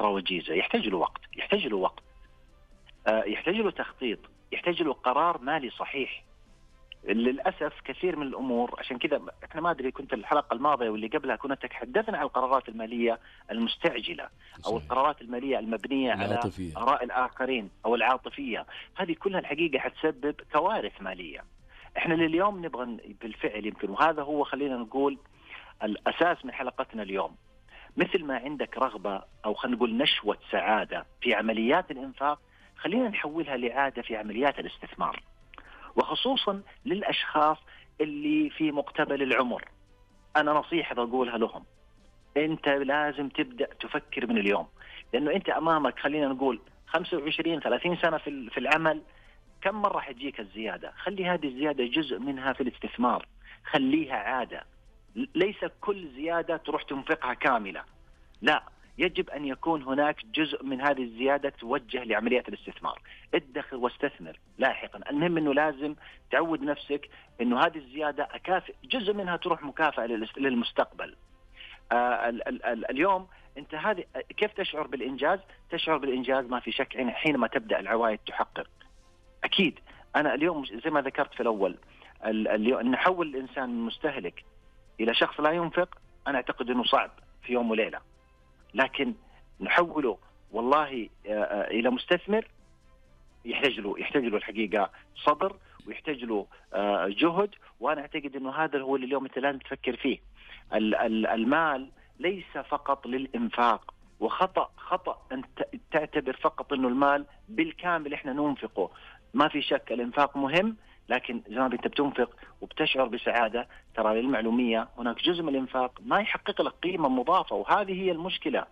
خطوره وجيزه، يحتاج له وقت، يحتاج له تخطيط، يحتاج له قرار مالي صحيح. للأسف كثير من الأمور، عشان كذا احنا ما أدري، كنت الحلقة الماضية واللي قبلها كنا تحدثنا عن القرارات المالية المستعجلة أو القرارات المالية المبنية على آراء الآخرين أو العاطفية. هذه كلها الحقيقة حتسبب كوارث مالية. احنا لليوم نبغى بالفعل يمكن، وهذا هو خلينا نقول الأساس من حلقتنا اليوم، مثل ما عندك رغبة أو خلينا نقول نشوة سعادة في عمليات الإنفاق، خلينا نحولها لعادة في عمليات الاستثمار، وخصوصا للأشخاص اللي في مقتبل العمر. أنا نصيحة بقولها لهم، أنت لازم تبدأ تفكر من اليوم، لأنه أنت أمامك خلينا نقول 25-30 سنة في العمل. كم مرة حتجيك الزيادة؟ خلي هذه الزيادة جزء منها في الاستثمار، خليها عادة. ليس كل زيادة تروح تنفقها كاملة، لا، يجب أن يكون هناك جزء من هذه الزيادة توجه لعمليات الاستثمار. ادخر واستثمر لاحقا. المهم أنه لازم تعود نفسك أنه هذه الزيادة أكافئ، جزء منها تروح مكافأة للمستقبل. اليوم أنت هذه كيف تشعر بالإنجاز؟ تشعر بالإنجاز ما في شك حينما تبدأ العوائد تحقق. أكيد أنا اليوم زي ما ذكرت في الأول، اليوم نحول الإنسان من مستهلك إلى شخص لا ينفق، أنا أعتقد أنه صعب في يوم وليلة، لكن نحوله والله إلى مستثمر يحتاج له الحقيقة صبر، ويحتاج له جهد. وأنا أعتقد أنه هذا هو اللي اليوم أنت لازم تفكر فيه. المال ليس فقط للإنفاق، وخطأ أن تعتبر فقط أنه المال بالكامل إحنا ننفقه. ما في شك الإنفاق مهم، لكن زي ما أنت بتنفق وبتشعر بسعادة، ترى للمعلومية هناك جزء من الإنفاق ما يحقق لك قيمة مضافة، وهذه هي المشكلة.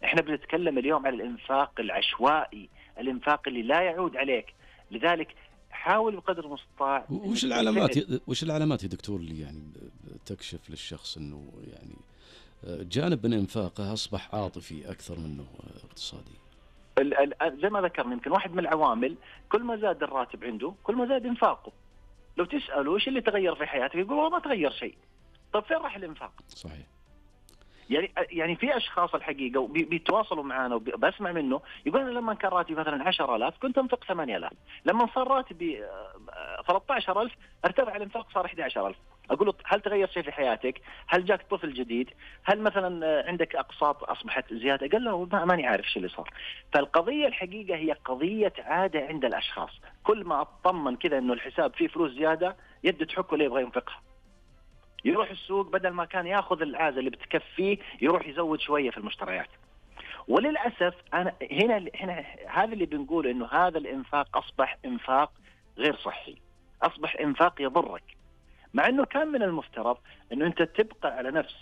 إحنا بنتكلم اليوم عن الإنفاق العشوائي، الإنفاق اللي لا يعود عليك. لذلك حاول بقدر المستطاع. وش العلامات يا دكتور اللي يعني تكشف للشخص إنه يعني جانب من إنفاقه أصبح عاطفي أكثر منه اقتصادي؟ زي ما ذكرنا، يمكن واحد من العوامل، كل ما زاد الراتب عنده كل ما زاد إنفاقه. لو تسأله إيش اللي تغير في حياتك يقول والله ما تغير شيء. طب فين راح الإنفاق؟ صحيح. يعني في أشخاص الحقيقة بيتواصلوا معنا وبسمع منه يقول أنا لما كان راتبي مثلا 10,000 كنت أنفق 8,000، لما صار راتبي 13,000 ارتفع الإنفاق صار 11,000. أقول له هل تغير شيء في حياتك؟ هل جاك طفل جديد؟ هل مثلا عندك أقساط أصبحت زيادة؟ قال له ماني عارف شو اللي صار. فالقضية الحقيقة هي قضية عادة عند الأشخاص، كل ما أطمن كذا إنه الحساب فيه فلوس زيادة يده تحك ولا يبغى ينفقها. يروح السوق بدل ما كان ياخذ العازة اللي بتكفيه يروح يزود شوية في المشتريات. وللأسف أنا هنا هذا اللي بنقول إنه هذا الإنفاق أصبح إنفاق غير صحي، أصبح إنفاق يضرك، مع إنه كان من المفترض إنه أنت تبقى على نفس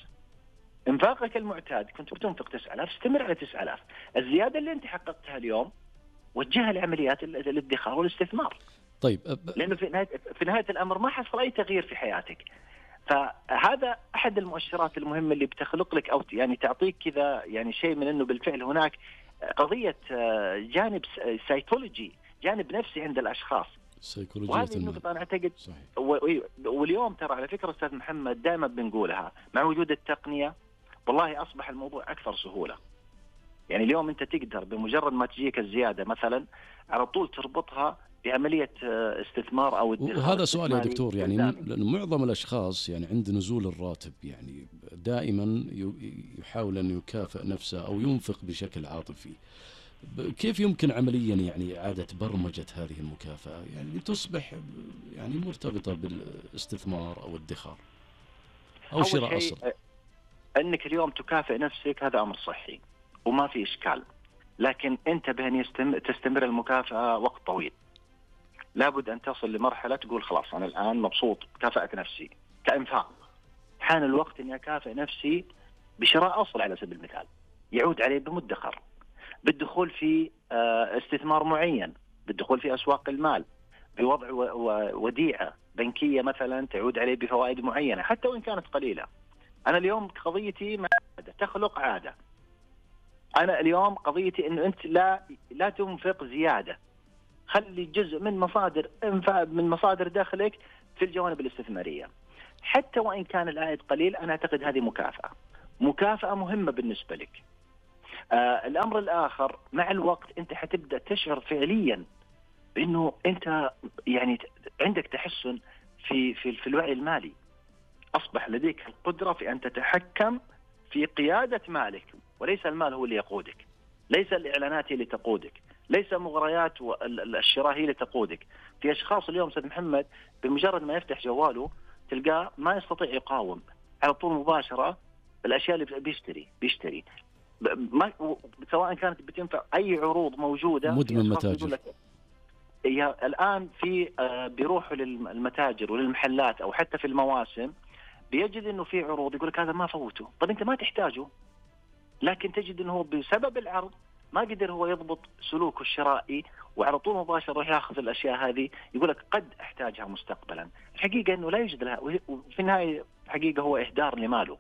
إنفاقك المعتاد. كنت بتنفق 9,000 استمر على 9,000. الزيادة اللي أنت حققتها اليوم وجهها لعمليات الادخار والاستثمار. طيب لأنه في نهاية الأمر ما حصل أي تغيير في حياتك. فهذا أحد المؤشرات المهمة اللي بتخلق لك أو يعني تعطيك كذا يعني شيء من إنه بالفعل هناك قضية جانب سايكولوجي، جانب نفسي عند الأشخاص. وهذه النقطة أنا أعتقد واليوم ترى على فكرة أستاذ محمد دائما بنقولها، مع وجود التقنية والله أصبح الموضوع أكثر سهولة. يعني اليوم أنت تقدر بمجرد ما تجيك الزيادة مثلا على طول تربطها بعملية استثمار أو وهذا سؤال يا دكتور، يعني لأن معظم الأشخاص يعني عند نزول الراتب يعني دائما يحاول أن يكافئ نفسه أو ينفق بشكل عاطفي. كيف يمكن عمليا يعني إعادة برمجة هذه المكافأة يعني تصبح يعني مرتبطة بالاستثمار أو الادخار أو شراء أصل؟ أنك اليوم تكافئ نفسك هذا أمر صحي وما في إشكال، لكن انتبه أن تستمر المكافأة وقت طويل. لابد أن تصل لمرحلة تقول خلاص أنا الآن مبسوط كافأت نفسي كإنفاق، حان الوقت أني أكافئ نفسي بشراء أصل على سبيل المثال يعود عليه بمدخر، بالدخول في استثمار معين، بالدخول في أسواق المال، بوضع وديعة بنكية مثلا تعود عليه بفوائد معينة حتى وإن كانت قليلة. أنا اليوم قضيتي مع عادة تخلق عادة. أنا اليوم قضيتي إنه أنت لا تنفق زيادة، خلي جزء من مصادر دخلك في الجوانب الاستثمارية حتى وإن كان العائد قليل. أنا أعتقد هذه مكافأة مهمة بالنسبة لك. الأمر الآخر، مع الوقت أنت حتبدأ تشعر فعليا بأنه أنت يعني عندك تحسن في الوعي المالي. أصبح لديك القدرة في أن تتحكم في قيادة مالك، وليس المال هو اللي يقودك، ليس الإعلانات هي اللي تقودك، ليس مغريات الشراء هي اللي تقودك. في أشخاص اليوم سيد محمد بمجرد ما يفتح جواله تلقاه ما يستطيع يقاوم، على طول مباشرة الأشياء اللي بيشتري سواء كانت بتنفع أي عروض موجودة. مدمن متاجر. الآن في بيروحوا للمتاجر وللمحلات أو حتى في المواسم بيجد إنه في عروض، يقول لك هذا ما فوته. طب أنت ما تحتاجه، لكن تجد إنه هو بسبب العرض ما قدر هو يضبط سلوكه الشرائي، وعلى طول مباشرة يروح ياخذ الأشياء هذه، يقول لك قد أحتاجها مستقبلا. الحقيقة إنه لا يوجد لها، وفي النهاية الحقيقة هو إهدار لماله.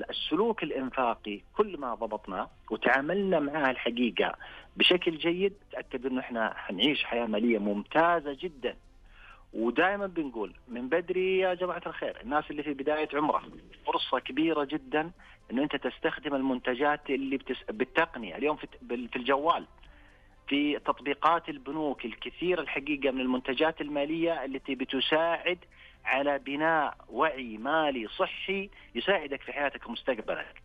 السلوك الإنفاقي كل ما ضبطنا وتعاملنا معها الحقيقة بشكل جيد، تأكد إنه إحنا حنعيش حياة مالية ممتازة جدا. ودائما بنقول من بدري يا جماعة الخير، الناس اللي في بداية عمره فرصة كبيرة جدا إنه أنت تستخدم المنتجات اللي بالتقنية اليوم في الجوال، في تطبيقات البنوك الكثير الحقيقة من المنتجات المالية التي بتساعد على بناء وعي مالي صحي يساعدك في حياتك ومستقبلك.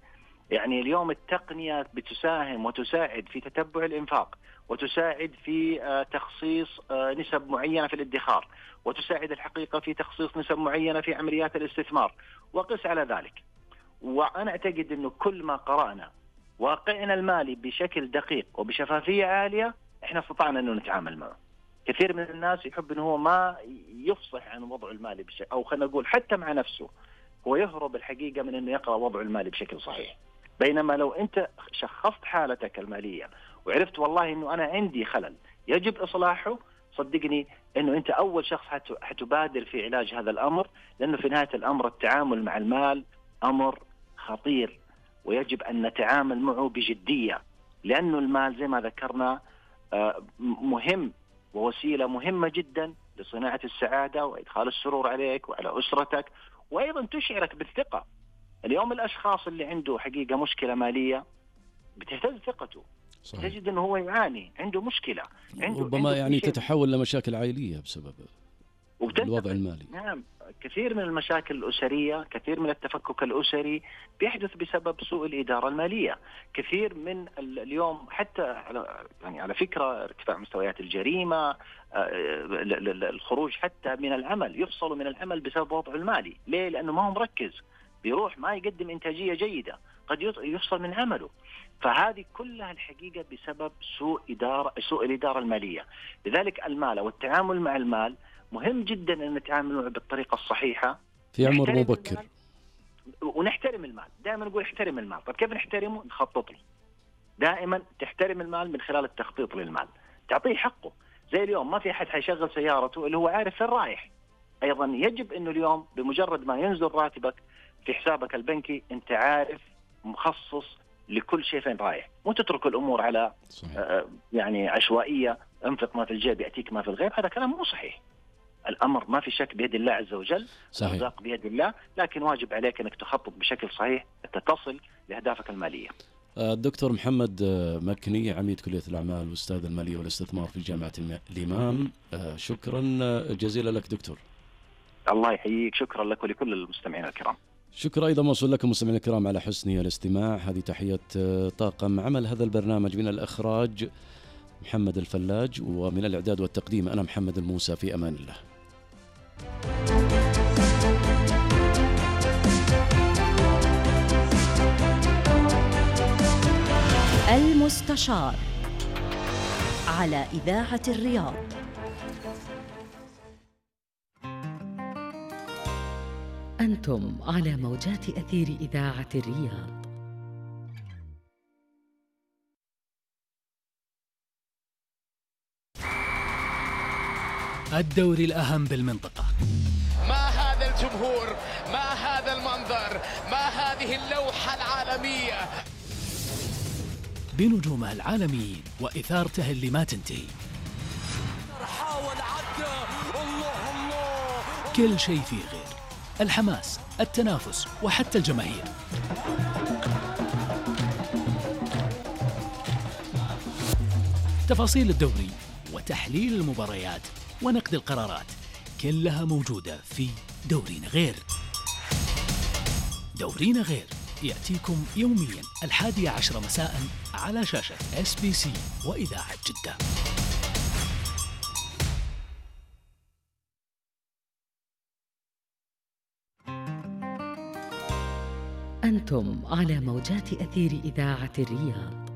يعني اليوم التقنية بتساهم وتساعد في تتبع الإنفاق، وتساعد في تخصيص نسب معينة في الادخار، وتساعد الحقيقة في تخصيص نسب معينة في عمليات الاستثمار، وقس على ذلك. وأنا أعتقد أنه كل ما قرأنا واقعنا المالي بشكل دقيق وبشفافية عالية، إحنا استطعنا أنه نتعامل معه. كثير من الناس يحب أنه هو ما يفصح عن وضعه المالي بشكل، أو خلينا نقول حتى مع نفسه هو يهرب الحقيقة من أنه يقرأ وضعه المالي بشكل صحيح. بينما لو أنت شخصت حالتك المالية وعرفت والله أنه أنا عندي خلل يجب إصلاحه، صدقني أنه أنت أول شخص حتبادر في علاج هذا الأمر، لأنه في نهاية الأمر التعامل مع المال أمر خطير، ويجب أن نتعامل معه بجدية، لأنه المال زي ما ذكرنا مهم ووسيلة مهمة جدا لصناعة السعادة وإدخال السرور عليك وعلى أسرتك، وأيضا تشعرك بالثقة. اليوم الأشخاص اللي عنده حقيقة مشكلة مالية بتهتز ثقته. صحيح. تجد أنه هو يعاني، عنده مشكلة، ربما يعني تتحول لمشاكل عائلية بسبب الوضع المالي. نعم، كثير من المشاكل الأسرية، كثير من التفكك الأسري بيحدث بسبب سوء الإدارة المالية. كثير من اليوم حتى على فكرة ارتفاع مستويات الجريمة، الخروج حتى من العمل، يفصلوا من العمل بسبب وضعه المالي. ليه؟ لأنه ما هو مركز، بيروح ما يقدم إنتاجية جيدة، قد يفصل من عمله. فهذه كلها الحقيقة بسبب سوء الإدارة المالية. لذلك المال والتعامل مع المال مهم جدا أن نتعامل معه بالطريقة الصحيحة في عمر مبكر، ونحترم المال. دائما نقول احترم المال. طيب كيف نحترمه؟ نخطط له. دائما تحترم المال من خلال التخطيط للمال، تعطيه حقه. زي اليوم ما في أحد حيشغل سيارته اللي هو عارف فين رايح. أيضا يجب أنه اليوم بمجرد ما ينزل راتبك في حسابك البنكي أنت عارف مخصص لكل شيء فين رايح، مو تترك الأمور على يعني عشوائية، انفق ما في الجيب يأتيك ما في الغيب. هذا كلام مو صحيح. الأمر ما في شك بيد الله عز وجل، الرزاق بيد الله، لكن واجب عليك أنك تخطط بشكل صحيح حتى تصل لأهدافك المالية. الدكتور محمد مكني، عميد كلية الأعمال وأستاذ المالية والاستثمار في جامعة الإمام، شكرا جزيلا لك دكتور. الله يحييك، شكرا لك ولكل المستمعين الكرام. شكرا أيضا موصول لكم مستمعين الكرام على حسن الاستماع. هذه تحية طاقم عمل هذا البرنامج، من الإخراج محمد الفلاج، ومن الإعداد والتقديم أنا محمد الموسى. في أمان الله. المستشار على إذاعة الرياض. أنتم على موجات أثير إذاعة الرياض. الدوري الأهم بالمنطقة. ما هذا الجمهور، ما هذا المنظر، ما هذه اللوحة العالمية بنجومها العالميين وإثارته اللي ما تنتهي. حاول عدى، الله كل شيء فيه غير، الحماس، التنافس، وحتى الجماهير. تفاصيل الدوري وتحليل المباريات ونقد القرارات كلها موجودة في دورينا غير. دورينا غير يأتيكم يوميا 11 مساء على شاشة SBC وإذاعة جدة. أنتم على موجات أثير إذاعة الرياض.